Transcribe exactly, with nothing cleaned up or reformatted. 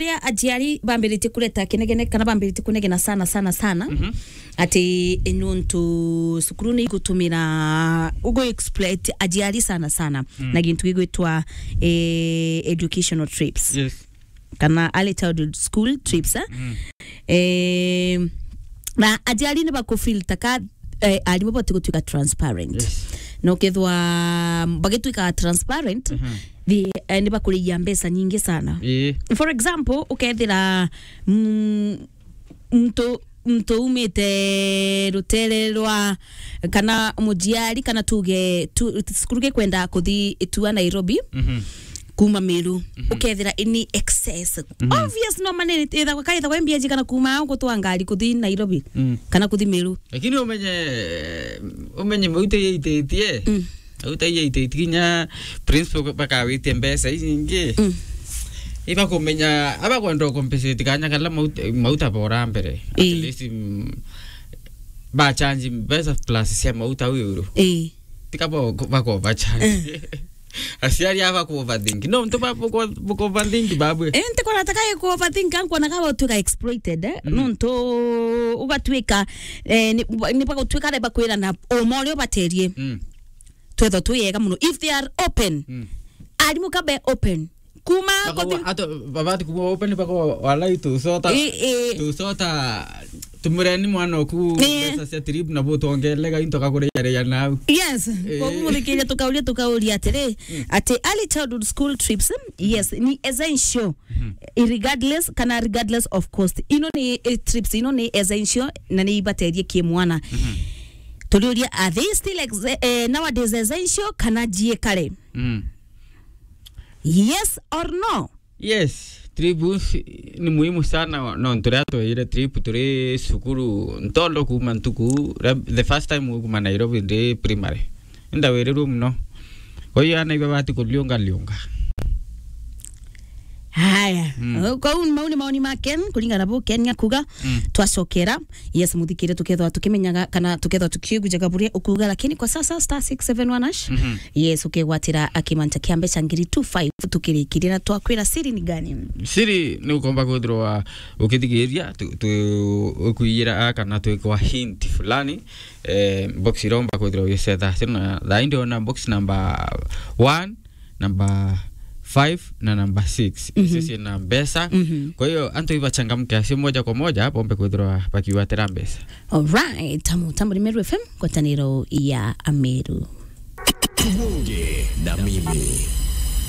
ria aciari bambiritie kureta kinegene, kana bambiritie kunegena sana, sana, sana, Mhm. ati nuntu cukuru ni igutumira, ugu exploit aciari sana, sana, Mm. na gintu gigwitwa, eh, educational trips. Yes. Kana early childhood school trips, eh? Mm. Eh, na aciari ni bakufeel taka, eh, arimu bati gutwika transparent. Yes. Na ukethwa bagitwika transparent, Mhm. the, eh, ni bakuriia mbeca nyingi sana. Ii. For example, ukethira, mm, mtu, mtu umite rutere rwa, kana mujiari, kana tuge, tu, cukuru gikwenda kuthi itua Nairobi, Mhm. kuma Meru, Mhm. ukethira ini excess. Mhm. Obvious, no mane ithagwa, kaithagwa mbia njigana kuma au gutwa ngari kuthi Nairobi, Mm. kana kuthi Meru. Lakini umenye, umenye mauta yaititie. Mm. Mauta yaititie kinya principal bakawitie mbeca ici ingi. Mm. Ibakumenya, abakwenda compensate kanya kala mauta, mauta bora mbere. At Ii. least, mm, ba charge mbeca plus cia mauta au euro. Ii. Tika bo-, bako ba charge. Eh. Aciari aba ku overthink. No, ntu ba buko, buko overthink babwe. Eh, nti kona taka ku overthink, ankona kaba utuika exploited, eh? Mm. Nuntu ugatwika, eh, ni, ni bagutwika re bakwira na uma uria ubaterie. Mm. Twetho twi yega muno. If they are open, Mm. arimu kabe open. Kuma Bako-, kuthi- ato, babati kuma open bako walai tusota. Eh, eh. Tusota. Tumureni mwana oku Ii. mbeca cia trip na butongelega into kakuria ria nau. Yes, Ii. koguo muthikiria tukauria, tukauria atiri, Mm. ati early childhood school trips, yes, ni essential. Mhm. Regardless, kana regardless of cost. Ino ni, eh, trips, ino ni essential na ni ibaterie ki mwana. Mhm. Turiuria, are they still ex-, eh, nowadays essential kana jiekare? Mm. Yes or no? Yes, trip ni muhimu sana, no, turia tweire trip turi cukuru, ntondo kuma ntuku, re-, the first time kuma Nairobi ndi primary. Ndawirirwe muno. Kwa hiyo ana iba bati kuliunga liunga. Haya. Mm. Kwa hiyo mau ni maoni ma Ken, kuringana na bu Ken akuga, Mm. twacokera. Yes, muthikire tukethwa tukimenyaga kana tukethwa tukiigujaga buria ukuga, lakini kwa sasa star six seven one hash. Mhm. Yes, ukegwatira akimanta kia mbeca ngiri two five tukirikiria na twakwira siri ni gani? Siri ni ukomba kwithirwa ukithigiria tu, tu, ukuiyira a kana twikwa hint fulani, eh, box iromba kwithirwa ugicetha. Sina thaa indi ona box number one, number five na number six. Mhm. Icio ciina mbeca. Mhm. Kwa hiyo, antu ibachangamke acio moja kwa moja, bombe kwithirwa bakiwatira mbeca. Alright, tamu, tamu ni Meru F M, ngwataniro ya Ameru. Tubonge na mimi.